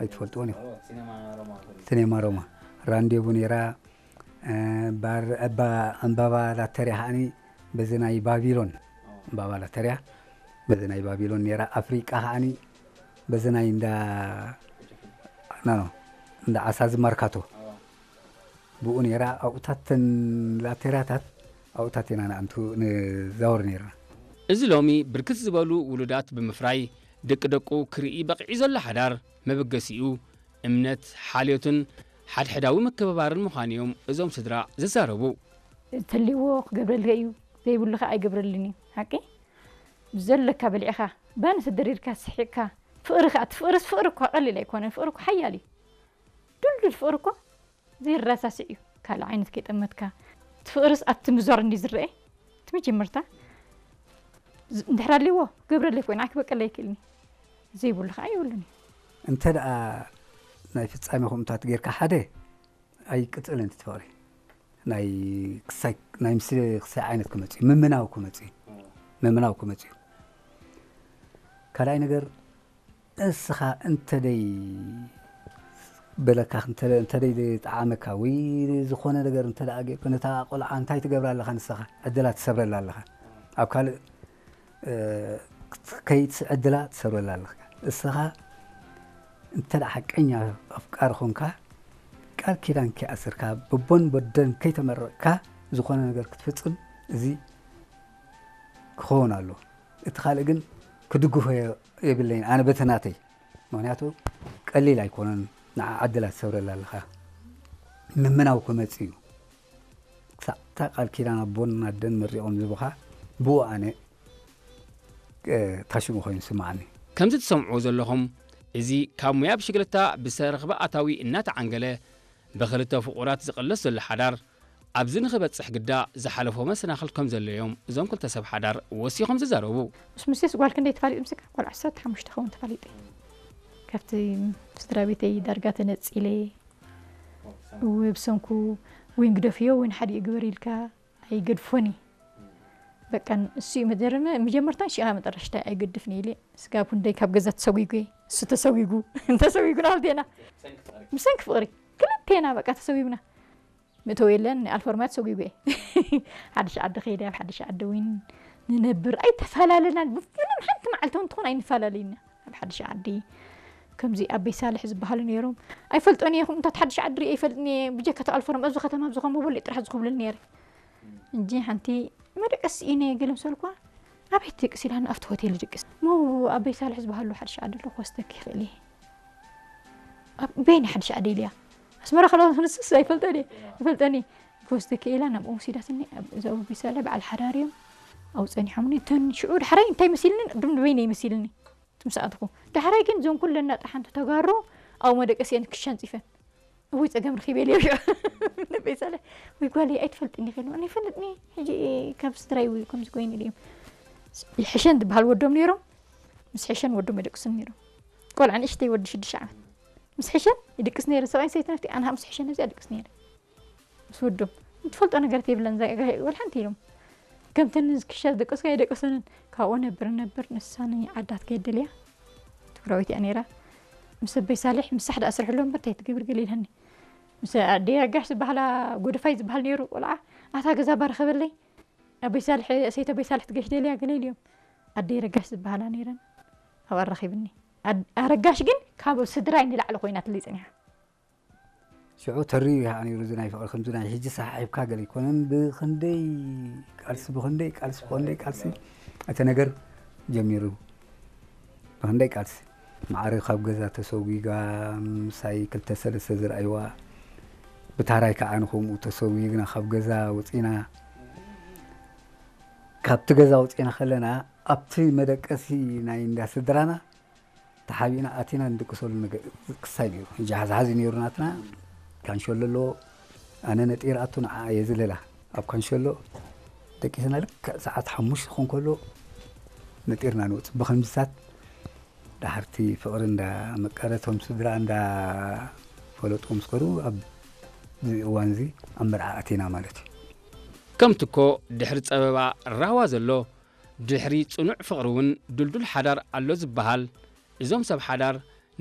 ኣይትፈልጥዎን ኢኹም። ሲኔማ ሮማ። ራንዴቡ ነይራ። እ፣ ባር-፣ እባ-፣ ዕምባባ ላተርያ ከዓኒ በዚ ናይ ባቢሎን፣ ዕምባባ ላተርያ በዚ ናይ ባቢሎን ነይራ። ኣፍሪቃ ከዓኒ በዚ ናይ እንዳ፣ ኖ፣ ኖ፣ እንዳ ዓሳ ዝማርካቶ ብኡ ነይራ። ኣብኡታት ተን ላተርያታት ኣብኡታት ኢና ንኣንቱ ንዛወር ነይርና። እዚ ሎሚ ብርክት ዝበሉ ውሉዳት ብምፍራይ ደቂ ደቁ ክርኢ በቒዑ ዘሎ ሓዳር መበገሲኡ እምነት፣ ሓልዮትን ሓድሕዳዊ ምክብባርን ምዃኑ እዮም እዞም ስድራ ዝዛረቡ። እንተልዎ ክገብረልካ እዩ፣ ዘይብሉ ኸዓ ኣይገብረልን እዩ። ሓቂ ብዘለካ በሊዕኻ፣ ባኒ ተደሪርካ፣ ስሒቕካ፣ ፍቕሪ ኸዓ፣ እቲ ፍቕርስ ፍቕሪ እኳ ቀሊል ኣይኮነን። ፍቕሪ እኳ ሓያል እዩ። ድልዱል ፍቕሪ እኳ ዘይረሳስዕ እዩ። ካልእ ዓይነት ከይጠመትካ፣ እቲ ፍቕርስ ኣብቲ ምዟር እንዲ ዝረአ፣ እቲ መጀመርታ ዝ-፣ እንድሕር ኣልዎ ክገብረለይ ኮይኑ፣ ኣክበቀለይ ይክእልኒ። ዘይብሉ ኸዓ የብሉን እዩ። እንተ ደኣ ናይ ፍጻሜ ከምኡታት ጌርካ ሓደ ኣይቅጽልን እቲ ፍቕሪ። ናይ ክሳይ፣ ናይ ምስ ክሳይ ዓይነት ክመጽእ እዩ። ምምናው ክመጽእ እዩ። ምምናው ክመጽእ እዩ። ካልኣይ ነገር፣ እስኻ እንተደይ በለካ፣ እንተ-፣ እንተደይ ጠዓመካ ወይ ዝኾነ ነገር እንተ ደኣ ጌርካ፣ ነታ ቆልዓ እንታይ ትገብራ ኣለኻ ንስኻ? ዕድላ ትሰብረላ ኣለኻ። ኣብ ካልእ፣ እ፣ ከይትስ-፣ ዕድላ ትሰብረላ ኣለኻ። እስኻ እንተ ደኣ ሓቀኛ ኣፍቃሪ ኾንካ፣ ቃል ኪዳን ከይኣሰርካ፣ በቦን በደን ከይተመረቕካ ዝኾነ ነገር ክትፍጽም፣ እዚ ክኸውን ኣለዎ። እቲ ካልእ ግን ክድግፎ የ-፣ የብለይን፣ ኣነ በቲ ናተይ። ምኽንያቱ ቀሊል ኣይኮነን፣ ንዓ ዕድላት ትሰብረላ ኣለኻ። ምምናው ክመጽእ እዩ። ክሳዕ እታ ቃል ኪዳን ኣቦን ኣደን መሪቖም ዝህቡኻ፣ ብኡ ኣነ፣ እ፣ ታሽሙ ኮይኑ ይስምዓኒ። ከምዚ ትሰምዕዎ ዘለኹም፣ እዚ ካብ ሙያ ብሽግለታ ብዝተረኽበ ኣታዊ እናተዓንገለ፣ ብኽልተ ፍቑራት ዝቕለስ ዘሎ ሓዳር፣ ኣብዚ ንኽበጽሕ ግዳ ዝሓለፎ መሰናኽል ከም ዘሎ እዮም እዞም ክልተ ሰብ ሓዳር ወሲኾም ዝዛረቡ። ምስ ሙሴስ ጓል ክንደይ ተፋሊጡ ምስካ? ጓል ዓሰርተ ሓሙሽተ ኸውን ተፋሊጡ። ካብቲ ስድራ ቤተይ ዳርጋ ተነጺለ፣ እወ፣ ብሰንኩ ወይን ግደፍዮ፣ ወይን ሓዲኡ ግበር ኢልካ ኣይገድፎን እዩ። በቃ፣ እሱ እዩ መጀመ-፣ መጀመርታን ሽቓ መጠረሽታ ኣይገድፍን ኢለ። ስጋብ ክንደይ ካብ ገዛ ተሰጒጉ እየ። እሱ ተሰጒጉ፣ ተሰጒጉ ናልቴና። ብሰንኪ ፍቕሪ። ክልቴና በቃ ተሰጒጉና። ምእተው የለን፣ ኣልፈርማት ሰጒጉ እየ። ሓድሽ ዓዲ ከይደ፣ ኣብ ሓድሽ ዓዲ እውን ንነብር። ኣይተፈላለናን፣ ብፍሉም ሓንቲ መዓልቲ እውን ትኾን ኣይንፈላለይና። ኣብ ሓድሽ ዓዲ ከምዚ ኣበይ ሳልሕ ዝበሃሉ ነይሮም። ኣይፈልጦን እየ፣ ከምኡታት ሓድሽ ዓዲ ርእየ ኣይፈልጥን እየ። ብጀካ እቲ ኣልፈርም ኣብዚ ከተማ ኣብዚ ከም በሉ ጥራሕ ዝኹብልል ነይረ። እንጂ ሓንቲ መደቀሲ ኢነ ገለ ምስ በልኳ፣ ኣበይ ትድቅስ ኢላኒ፣ ኣብቲ ሆቴል ይድቅስ። ሞ ኣበይ ሳልሕ ዝበሃሉ ሓድሽ ዓዲ ኣሎ ክወስደኪ ይኽእል እየ። ኣብ በይኒ ሓድሽ ዓዲ ኢልያ። ኣስመራ ከለኹ ንስስ ኣይፈልጠን እየ። ኣይፈልጠን እየ። ክወስደኪ ኢላ ናብኦም ወሲዳትኒ። ኣብ እዛ ኣበይ ሳልሕ በዓል ሓዳር እዮም። ኣብኡ ጸኒሖምኒ። እተን ሽዑ ዳሕራይ እንታይ መሲልኒ? ቅድም ንበይነይ መሲልኒ። እቲ ምስ ኣተኹ። ዳሕራይ ግን እዞን ኩለን ናጣ ሓንቲ ተጋሩ ኣብኡ መደቀሲየን ክሻ ኣንጺፈን። እውይ ጸገም ረኺበ ኢለ። ንበይ ሳልሕ፣ ወይ ጓለይ ኣይትፈልጥኒ ኢኺ ኢሉ። ኣነ ይፈልጥኒ፣ ሕጂ ካብ ስድራይ ወይ ከምዚ ኮይኑ ኢሉ እዮም። ይሕሸን ዝበሃል ወዶም ነይሮም። ምስ ሕሸን ወዶም የደቅሱን ነይሮም። ቆልዓ ንእሽተይ ወዲ ሽዱሽተ ዓመት። ምስ ሕሸን ይድቅስ ነይረ። ሰብኣይን ሰበይትን ኣብቲ ኣነ ምስ ሕሸን ኣብዚኣ ይድቅስ ነይረ። ምስ ወዶም። እትፈልጦ ነገር የብለን፣ እዛ ጋሂ ወላ ሓንቲ ኢሎም። ከምተን ክሻ ዝደቀስካ ኣይደቀሰንን። ካብኡ ነብር ነብር፣ ንሳ ንዓዳ ትከይድ ደልያ። ትግራዊት እያ ነይራ። ምስ ኣበይ ሳልሕ፣ ምሳሕ ደኣ ስርሕሎ እምበር እንታይ ትገብር ገለ ኢልሃኒ። ምስ ኣደይ ኣጋሽ ዝበሃላ፣ ጎደፋይ ዝበሃል ነይሩ ቆልዓ፣ ኣታ ገዛ ባረኸበለይ። ኣበይ ሳልሕ፣ ሰይቲ ኣበይ ሳልሕ ትገሽ ደልያ ገለ ኢልዮም። ኣደይ ረጋሽ ዝበሃላ ነይረን። ኣብኣ ኣራኺብኒ። ኣድ-፣ ኣረጋሽ ግን ካብ ስድራይ ንላዕሊ ኮይናትለይ ጸኒሓ። ሽዑ ተሪሩ እዩ ከዓ ነይሩ፣ እዚ ናይ ፍቕሪ ከምዚ ናይ ሕጂ ሰሓሒብካ ገለ ኣይኮነን። ብኽንደይ ቃልሲ፣ ብኽንደይ ቃልሲ፣ ብኽንደይ ቃልሲ እቲ ነገር ጀሚሩ። ብኽንደይ ቃልሲ። ማዕረ ካብ ገዛ ተሰጒጋ፣ ምሳይ ክልተ ሰለስተ ዝረኣይዋ፣ ብታራይ ከዓ ንኸምኡ ተሰጒግና ካብ ገዛ ወፂና። ካብቲ ገዛ ወፂና ከለና፣ ኣብቲ መደቀሲ ናይ እንዳ ስድራና፣ ተሓቢእና ኣቲና ንድቅሰሉ ነገር ክሳይ ነይሩ። ሕጂ ሓዝሓዝ እዩ ነይሩ ናትና። ካንሸሎ ኣለዎ። ኣነ ነጢረ ኣቱ ንዓ እየ ዝልላ። ኣብ ካንሸሎ ደቂስና ልክዕ ሰዓት ሓሙሽተ ክኾን ከሎ ነጢርና ንወፅእ። ብኸምዚታት ደሓርቲ ፍቕሪ እንዳመቀረ፣ እቶም ስድራ እንዳፈለጡ ምስ ከዱ፣ ኣብዚ እዋን እዚ ኣብ መርዓ ኣቲና ማለት እዩ። ከምቲ እኮ ድሕሪ ጸበባ ራህዋ ዘሎ፣ ድሕሪ ጽኑዕ ፍቕሪ እውን ድልዱል ሓዳር ኣሎ ዝበሃል፣ እዞም ሰብ ሓዳር